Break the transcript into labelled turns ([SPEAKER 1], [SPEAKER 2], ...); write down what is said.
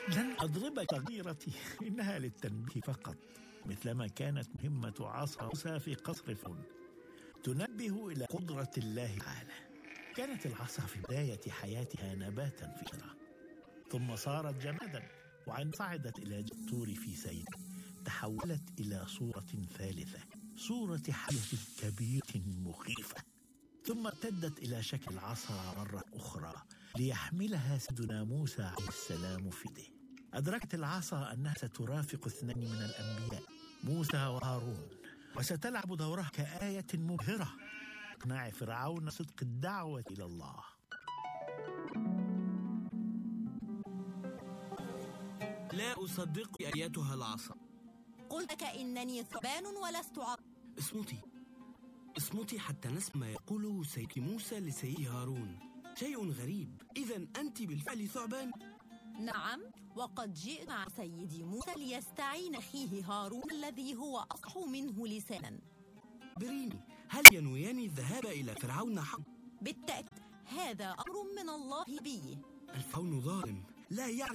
[SPEAKER 1] لن أضرب صغيرتي، إنها للتنبيه فقط، مثلما كانت مهمة عصا موسى في قصر فرعون تنبه إلى قدرة الله تعالى. كانت العصا في بداية حياتها نباتا فكرة، ثم صارت جمادا، وعندما صعدت إلى الطور في سير تحولت إلى صورة ثالثة، صورة حية كبيرة مخيفة، ثم امتدت إلى شكل العصا مرة أخرى ليحملها سيدنا موسى عليه السلام في يده. أدركت العصا أنها سترافق اثنين من الأنبياء، موسى وهارون، وستلعب دورها كآية مبهرة إقناع فرعون صدق الدعوة إلى الله.
[SPEAKER 2] لا أصدق أيتها العصا.
[SPEAKER 3] قلت كأنني ثعبان ولست عصا.
[SPEAKER 2] اصمتي حتى نسمع ما يقوله سيد موسى لسيد هارون. شيء غريب، إذن أنت بالفعل ثعبان؟
[SPEAKER 3] نعم، وقد جئت مع سيدي موسى ليستعين أخيه هارون الذي هو أصح منه لسانا.
[SPEAKER 2] بريني، هل ينويان الذهاب إلى فرعون حقا؟
[SPEAKER 3] بالتأكيد، هذا أمر من الله بي.
[SPEAKER 2] الفرعون ظالم، لا يعرف